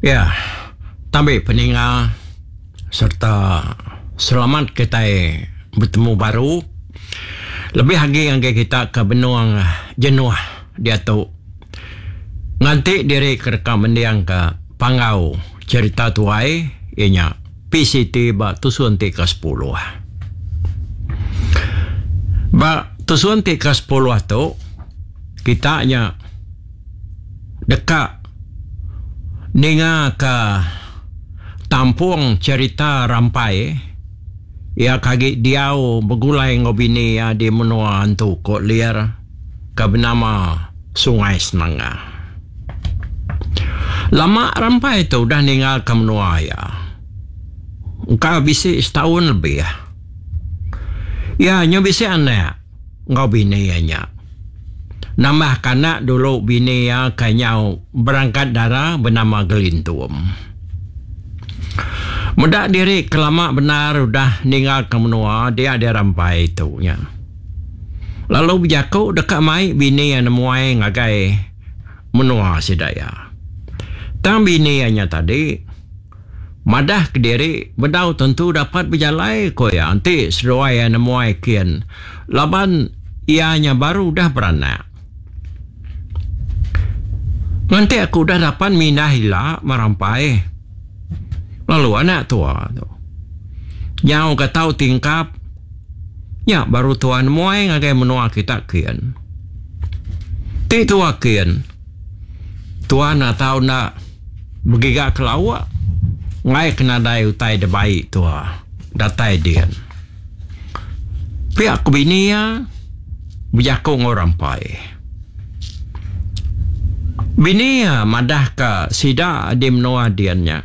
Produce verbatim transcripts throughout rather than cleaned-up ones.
Ya, tabi peninga serta selamat kitai betemu baru. Lebih agi ngagai kita ke benung jenuh diatu nganti diri ke deka mendingka Panggau Cherita Tuai iya nya P C T ba tusun ti ke sepuluh. Ba tusun ti ke sepuluh tu kita nya deka ninga ke tampung cherita Rampai iya ke agi diau begulai enggau bini iya di menua Antu Kok Lir ke benama Sungai Senangga. Lama Rampai tu udah ninggalka menua iya. Engka bisi setaun lebih. Iya nyu bisi anak enggau bini iya nya. Nambahka anak dulu bini iya ke nyau berangkat dara benama Gelintum. Meda diri ke lama bendar udah ninggalka menua dia dia Rampai tu nya. Lalu bejaku deka mai bini iya nemuai ngagai menua sida iya. Tang bini iya nya tadi madah kediri bedau tentu dapat bejalai ko iya enti seduai iya nemuai kin laban iya nya baru udah beranak. Nganti aku udah dapat mindah ila merampai lalu anak tua tu nyau ke tau tingkap nya baru tua nemuai ngagai menua kita kin. Ti tua kin tua enda tau enda begiga ke lauk ngai ke nadai utai dibai tua datai din. Pia ku bini iya bejaku enggau Rampai. Bini iya madahka sida di menua din nya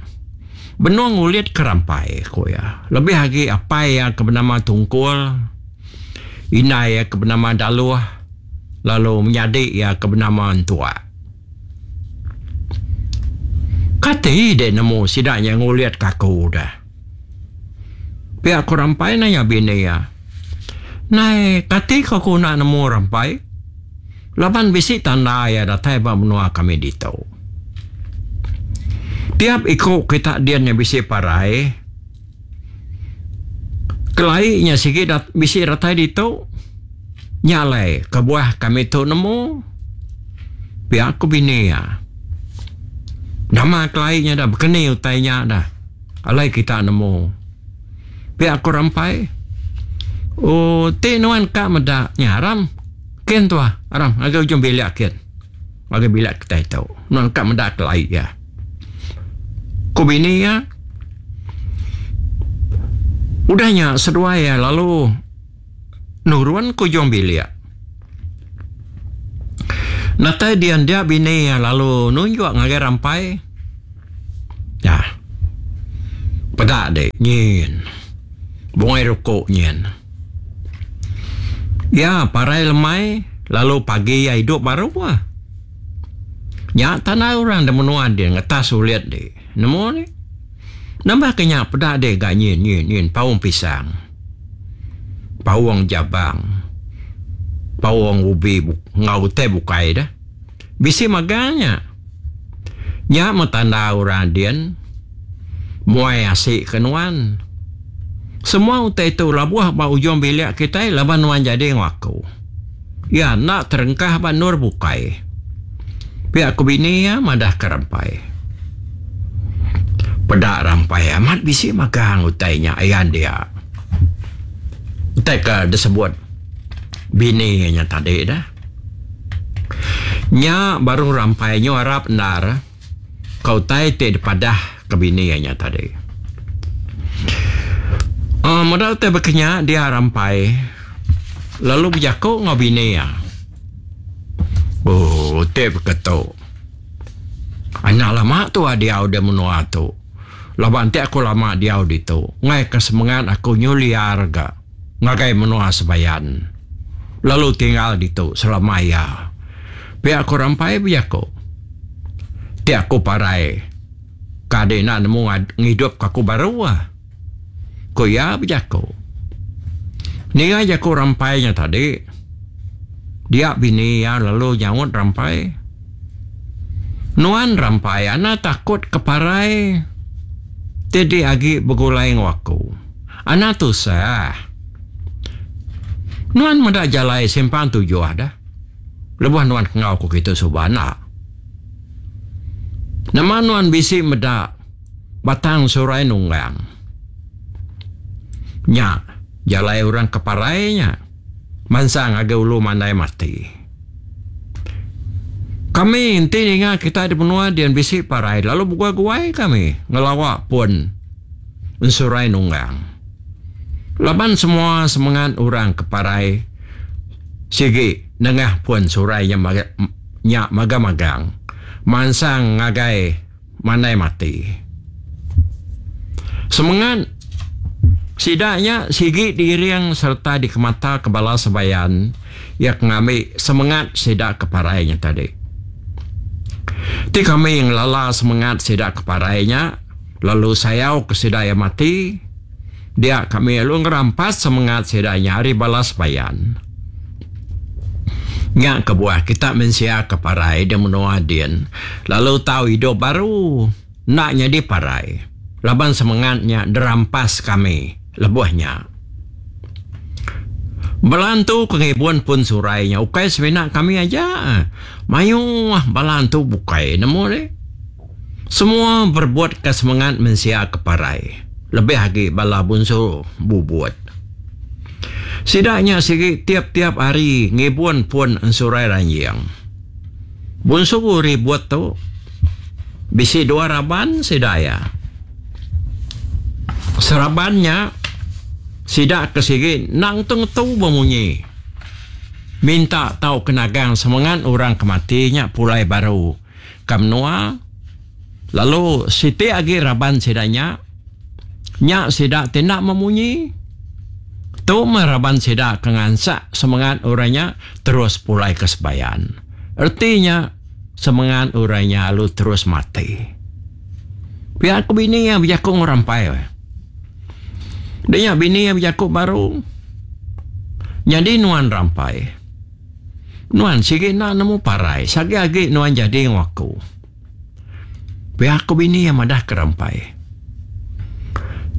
benung ngulit ke Rampai ku iya. Lebih agi apai iya ke benama Tungkul, indai iya ke benama Daluh lalu menyadi iya ke benama Entuak. Kati dek nemu sida nya ngulit ke aku dah. Pia ku Rampai nanya bini iya. Nai kati ko aku enda nemu Rampai? Laban bisi tanda iya datai ba menua kami ditu. Tiap iku kita din nya bisi parai. Kelai nya sigi bisi datai ditu. Nya alai kebuah kami tu nemu. Pia ku bini iya. Nama kelai nya dah bekeni utai nya dah. Alai kita nemu. Pia ku Rampai. Oh ti nuan ka meda nya aram. Kin tuah aram ngagai ujung bilik kin. Ngagai bilik kitai tu. Nuan ka meda kelai iya. Ku bini iya. Udah nya seduai iya lalu nurun ke ujung bilik. Natai dian dia bini iya lalu nunjuk ngagai Rampai. Ya. Peda dik nyin. Bungai rukuk nyin. Iya parai lemai lalu pagi iya idup baru ah. Nya tanda orang da menua din ngetas ulit dik. Nemu dik. Nambah ke nya peda dik ga nyin nyin nyin paung pisang. Paung jabang. Paung ubi enggau utai bukai dah. Bisi magang nya. Nya meh tanda orang din muai asi ke nuan. Semua utai tu labuh ba ujung bilik kitai laban nuan jadi enggau aku. Iya enda terengkah ba endur bukai. Pia ku bini iya madah ke Rampai. Peda Rampai amat bisi magang utai nya ayan dia. Utai ke disebut bini nya tadi dah. Nya baru Rampai nyu arap endar ke utai ti dipadah ke bini nya tadi. Uh, meda utai baka nya dia Rampai lalu bejaku enggau bini iya. Oh, utai baka tu. Anak lama tu diau di menua tu. Laban ti aku lama diau ditu, ngai ke semengat aku nyu liar ga ngagai menua Sebayan. Lalu tinggal ditu selama iya. Pia aku Rampai bejaku. Ti aku parai ka adi enda nemu ngidup ka aku baru ah. Ku iya bejaku. Ninga jaku Rampai nya tadi, dia bini iya lalu nyaut Rampai. Nuan Rampai anang takut ke parai ti di agi begulai enggau aku. Anang tusah. Nuan meda jalai simpang tujuh dah. Lebuh nuan ke enggau aku kitu suba enda. Nama nuan bisi meda batang surai nunggang. Nya jalai orang ke parai nya mansang ngagai ulu mandai mati. Kami enti ninga kitai di menua din bisi parai lalu beguai-guai kami ngelawa pun ensurai nunggang. Laban semua semengat orang ke parai sigi nengah pun surai nya nya magang-magang mansang ngagai mandai mati. Semengat sida nya sigi diiring sereta dikemata ke bala sebayan iya ke ngambi semengat sida ke parai nya tadi. Ti kami ngelala semengat sida ke parai nya lalu sayau ke sida iya mati, dia kami lalu ngerampas semengat sida nya ari bala sebayan. Nya kebuah kita mensia ke parai di menua din lalu tau idup baru enda nyadi parai laban semengat nya dirampas kami lebuh nya. Bala antu ke ngibun pun surai nya ukai semina kami aja. Mayuh bala antu bukai nemu deh. Semua berebutka semengat mensia ke parai lebih agi bala bunsu bubut. Sida nya sigi tiap-tiap hari ngibun pun ensurai ranjing. Bunsu ribut tu bisi dua raban sida iya. Seraban nya sida ke sigi endang ngetu-ngetu bemunyi minta tauka nagang semengat orang ke mati nya pulai baru ke menua lalu siti agi raban sida nya nya sida ti enda memunyi. Tu meh raban sida ke ngansak semengat orang nya terus pulai ke sebayan. Reti nya semengat orang nya lalu terus mati. Pia ku bini iya bejaku enggau Rampai. Dia bini iya bejaku baru. Nyadi nuan Rampai. Nuan sigi enda nemu parai sagi agi nuan jadi enggau aku. Pia ku bini iya madah ke Rampai.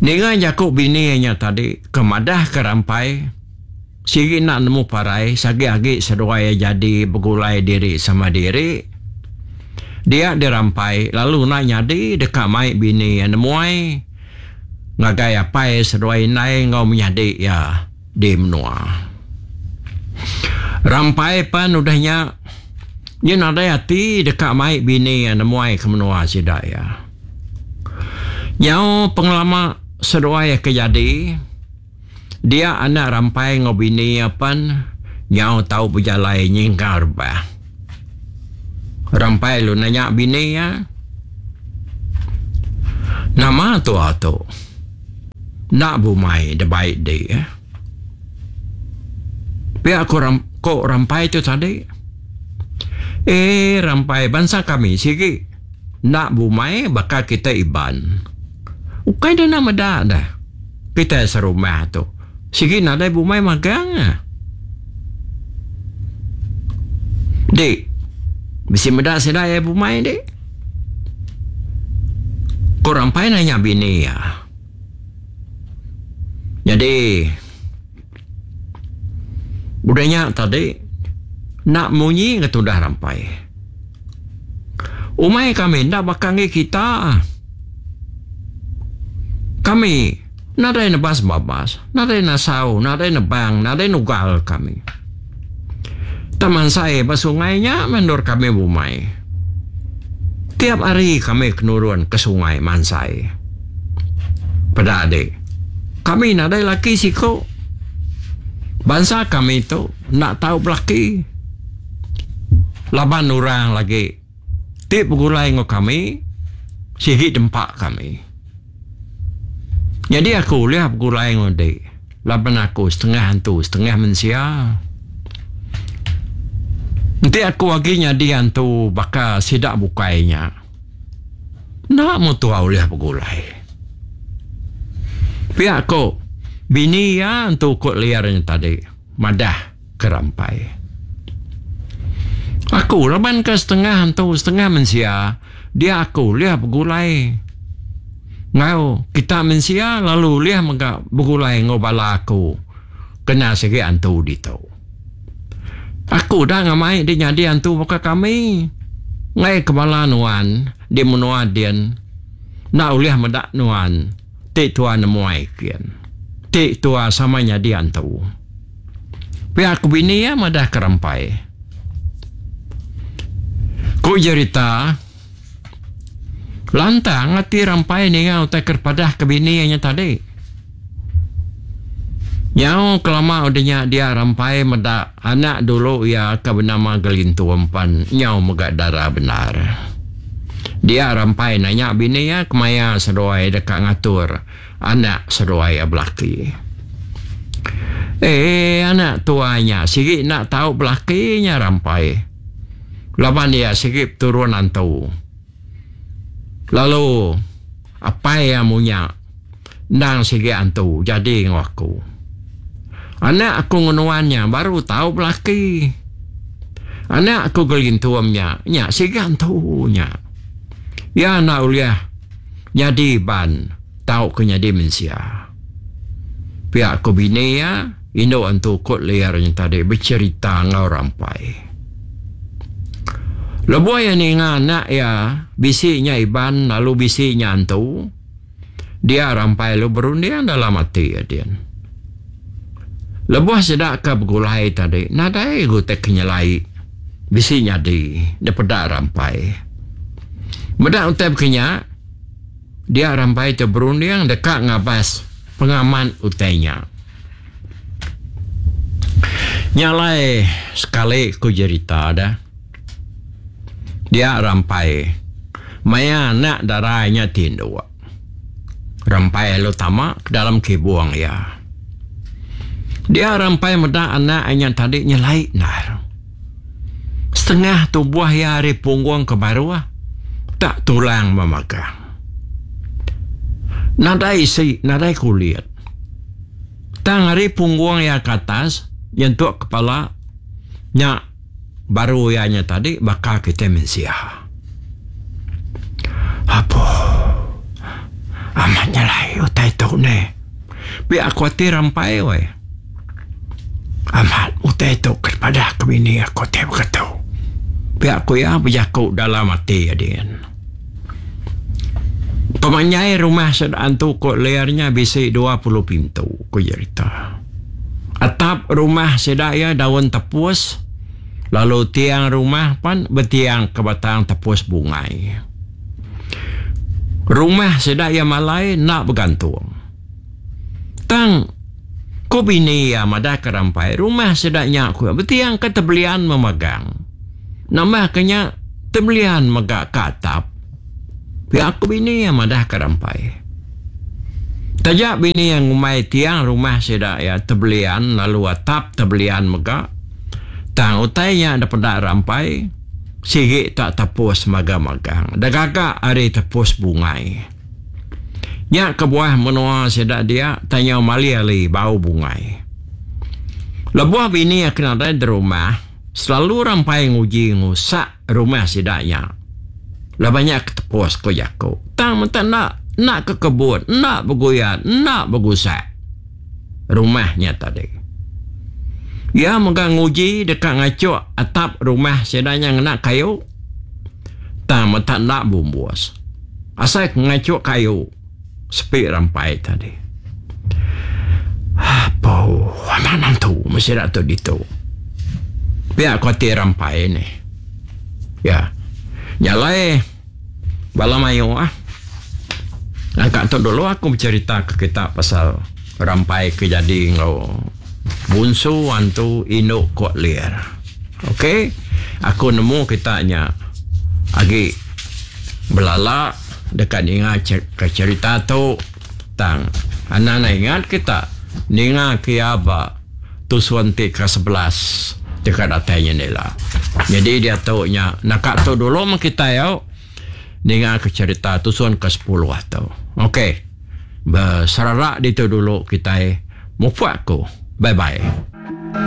Ninga jaku bini iya nya tadi ke madah ke Rampai sigi enda nemu parai sagi agi seduai iya jadi begulai diri sama diri. Dia dirampai lalu enda nyadi deka mai bini iya nemuai ngagai apai seduai indai enggau menyadi iya di menua. Rampai pan udah nya nya nadai ati deka mai bini iya nemuai ke menua sida iya. Nyau pengelama seduai iya ke jadi, dia anak Rampai enggau bini iya pan nyau tau bejalai nyingkang rebah. Rampai lalu nanya bini iya, Nama tua tu enda bumai debai di? Pia ku ko Rampai tu tadi. Eh Rampai bansa kami sigi enda bumai baka kita Iban. Ukai deh enda meda deh. Kitai serumah tu sigi nadai bumai magang. Dik bisi meda sida iya bumai dik. Ku Rampai nanya bini iya. Nyadi udah nya tadi enda munyi ga tudah Rampai. Umai kami enda baka enggi kita. Kami nadai nebas babas, nadai nasau, nadai nebang, nadai nugal kami. Tang mansai ba sungai nya meh endur kami bumai. Tiap hari kami ke nurun ke sungai mansai. Peda dik, kami nadai laki siku. Bansa kami tu enda tau belaki laban orang lagi ti begulai enggau kami sigi dempa kami. Nyadi aku ulih begulai enggau dik laban aku setengah antu setengah mensia. Enti aku agi nyadi antu baka sida bukai nya enda mutua ulih begulai. Pia ko bini iya entu ko liar nya tadi madah ke Rampai. Aku laban ke setengah antu setengah mensia, dia aku ulih begulai enggau kita mensia lalu ulih mega begulai enggau bala aku kena sigi antu ditu. Aku udah ngamai di nyadi antu baka kami. Ngai ke bala nuan di menua din enda ulih meda nuan ti tua nemuai kin. Ti tua sama nyadi antu. Pia ku bini iya madah ke Rampai. Ku jerita, lantang ati Rampai ninga utai ke dipadah ke bini iya nya tadi. Nyau kelama udah nya dia Rampai meda anak dulu iya ke benama Gelintum pan nyau mega dara bendar. Dia Rampai nanya bini iya kemaya seduai deka ngatur anak seduai iya belaki. Eh anak tuai nya sigi enda tau belaki nya Rampai laban iya sigi peturun antu. Lalu apai iya munya endang sigi antu jadi enggau aku. Anak aku ngenuan nya baru tau belaki. Anak aku Gelintum nya, nya sigi antu nya. Iya enda ulih nyadi ban tauka nyadi mensia. Pia ku bini iya, indu antu Kut Liar nya tadi becherita enggau Rampai. Lebuh iya ninga anak iya bisi nya Iban lalu bisi nya antu, dia Rampai lalu berunding dalam ati iya din. Lebuh sida ke begulai tadi nadai utai ke nyelai bisi nyadi dipeda Rampai. Meda utai baka nya, dia Rampai tu berunding deka ngabas pengamat utai nya. Nya alai sekali ku jerita deh. Dia Rampai maya anak dara nya tinduk. Rampai lalu tama ke dalam kibung iya. Dia Rampai meda anak nya tadi nyelai endar. Setengah tubuh iya ari punggung ke baruh tak tulang memagang. Nadai isi, nadai kulit. Tang ari punggung iya ke atas nyentuk kepala nya baru iya nya tadi baka kitai mensia. Apo amat nyelai utai tu neh. Pia ku ati Rampai weh. Amat utai tu ke dipadah ke bini aku ti baka tu. Pia ku iya bejaku dalam ati iya din. Pemanjai rumah sida antu ku Ler nya bisi dua puluh pintu, ku jerita. Atap rumah sida iya daun tepus lalu tiang rumah pan betiang ke batang tepus bungai. Rumah sida iya malai enda begantung. Tang ku bini iya madah ke Rampai, rumah sida nya ku iya betiang ke tebelian memagang. Nambah ke nya tebelian mega ke atap. Pia ku bini iya madah ke Rampai. Taja bini iya ngumbai tiang rumah sida iya tebelian lalu atap tebelian mega, tang utai nya dipeda Rampai sigi tak tepus magang-magang digaga ari tepus bungai. Nya kebuah menua sida dia tanyau mali-ali bau bungai. Lebuh bini aku nadai di rumah, selalu Rampai nguji ngusak rumah sida nya. Laban nya ke tepus ku jaku. Tang menta enda, enda ke kebut, enda beguyat, enda begusak rumah nya tadi. Iya mega nguji deka ngachuk atap rumah sida nya ngena kayu. Tang menta enda bumbus. Asai ke ngachuk kayu sepi Rampai tadi. Apo amat mantu meh sida tu ditu. Pia ku ati Rampai nih. Ya. Nya alai bala mayuh ah. Angka tu dulu aku becherita ke kita pasal Rampai ke jadi enggau bunsu antu indu Kok Lir. Ok. Aku nemu kita nya agi belala deka ninga ke cherita tu tang anang enda ingat kita ninga ke iya ba tusun ti ke sebelas deka datai nya ila. Nyadi diatu nya naka tu dulu meh kitai au ninga ke cherita tusun ke sepuluh tu. Ok. Beserara ditu dulu kitai mupuk aku. Bye bye.